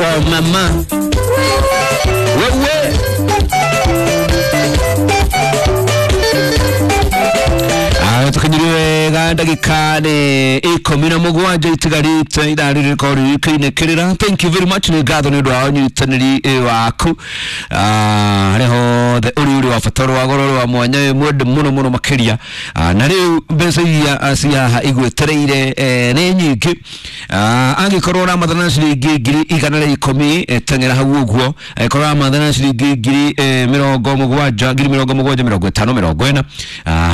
wa mama wewe. Tukinyiri wega ndagika nĩ 17 itigarĩte ithaa rĩrĩ rĩkorwo rĩrĩkĩinĩkĩrĩra. Thank you very much, nĩ ngatho nĩ ũndũ wa ũnyitanĩri waku harĩa hothe ũrĩ, ũrĩ wa bata, ũrĩ wa goro, ũrĩ wa mwanya, wĩ mwende mũno mũno makĩria. Na rĩu mbeca iria ci haha igwetereire nĩ nyingĩ. Angĩkorwo ũramathana na ciringi 110,000, teng'era hau ũguo. Angĩkorwo ũramathana na ciringi 70,000, 70,000, 50, 40,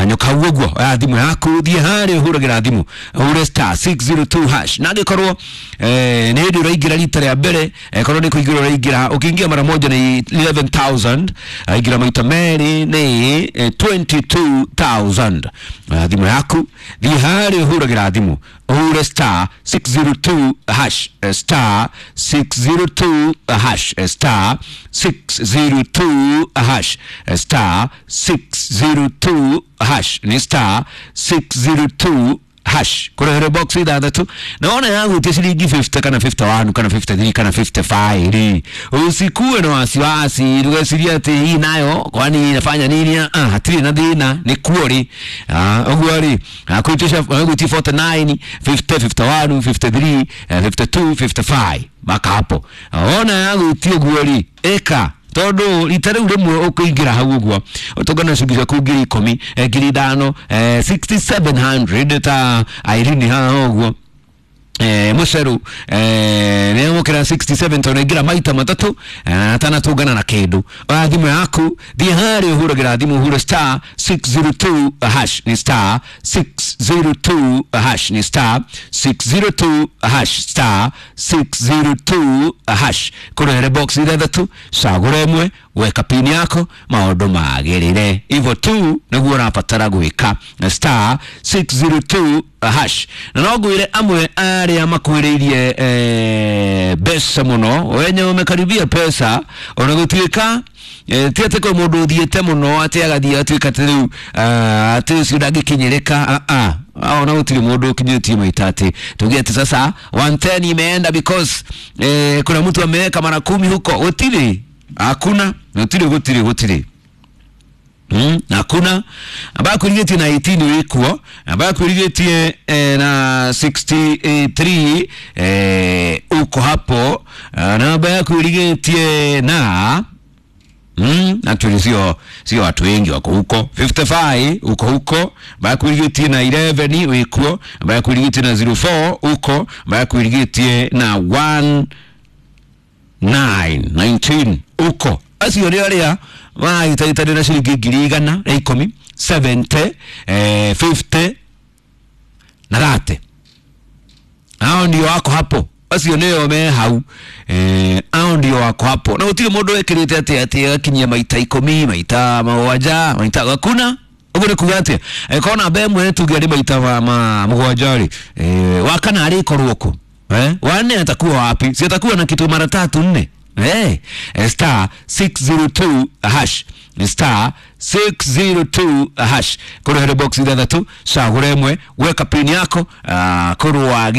nyoka hau ũguo. Oya thimũ yaku, thiĩ harĩa ũhũragĩra thimũ, ũhure *602#. Na angĩkorwo nĩ hĩndĩ ũraingĩra rita rĩa mbere, korwo nĩ kũingĩra ũraingĩra, ũkĩingĩra mara moja nĩ 11,000, aingĩra maita merĩ nĩ 22,000. Oya thimũ yaku, thiĩ harĩa ũhũragĩra thimũ, ũhure *602#, *602#, *602#, *602#, nĩ *602# kũrehere box ithathatũ, na wona yagũtia ciringi 50 kana 51 kana 53 kana 55 rĩ, usikuwe na wasiwasi ndũgecirie atĩ hii nayo kwani inafanya nini. Hatirĩ na thĩna nĩ kuo rĩ. Ũguo rĩ, kwĩtisha gwĩtia 49, 50, 51, 53, 52, 55 maka hapo. Wona yagũtia ũguo rĩ, ĩka tondu rita riu rimwe ukuingira hau uguo utungana ciringi ciaku 10,000, 5,000, 6700 ta Irene haha uguo, muceru nĩamũkĩra 67 tondũ aingĩra maita matatũ atanatũngana na kĩndũ. Oya thimũ yaku, thiĩ harĩa ũhũragĩra thimũ, ũhure *602#, nĩ *602#, nĩ *602#, *602# kũrehere box ithathatũ, cagũra ĩmwe, weka pini yako, maũndũ magĩrĩre hivyo tu nĩguo ũrabatara gwĩka na *602#. Na no ngwĩre amwe arĩa makwĩrĩirie mbeca mũno, wenye wamekaribia pesa, ona gũtuĩka ti atĩ kwĩ mũndũ ũthiĩte mũno atĩ agathiĩ atuĩka atĩ rĩu atĩ ũcio ndangĩkinyĩrĩka. Ona gũtirĩ mũndũ ũkinyĩtie maita atĩ tuge atĩ sasa 110 imeenda because kuna mtu ameweka mara 10 huko. Gũtirĩ, hakuna, gũtirĩ, gũtirĩ, gũtirĩ. Hakuna ambaye akwĩrigĩtie na 18 wĩkuo, ambaye akwĩrigĩtie na 63 uko hapo, na ambaye akwĩrigĩtie na actually sio watu wengi wako huko. 55 uko huko, ambaye akwĩrigĩtie na 11 wĩkuo, ambaye akwĩrigĩtie na 04 uko, ambaye akwĩrigĩtie na 1 9 19 uko. Acio nĩ arĩa mahĩtahĩtanio na ciringi 110,000, 70, 50 na 30. Hao ndio wako hapo, acio nĩo me hau, hao ndio wako hapo. Na gũtirĩ mũndũ wĩkĩrĩte atĩ agakinyia maita 10, maita 7, maita hakuna. Ũguo nĩ kuga atĩa? Korwo namba ĩmwe tuge arĩ maita ma 7 rĩ, wa kana arĩkorwo kũ? Wanne atakuwa wapi? Si atakuwa na kitu mara 3 4. *602#, *602# kũrehere box ithathatũ, cagũra ĩmwe, weka pin yako, kũrwo wagĩrĩire.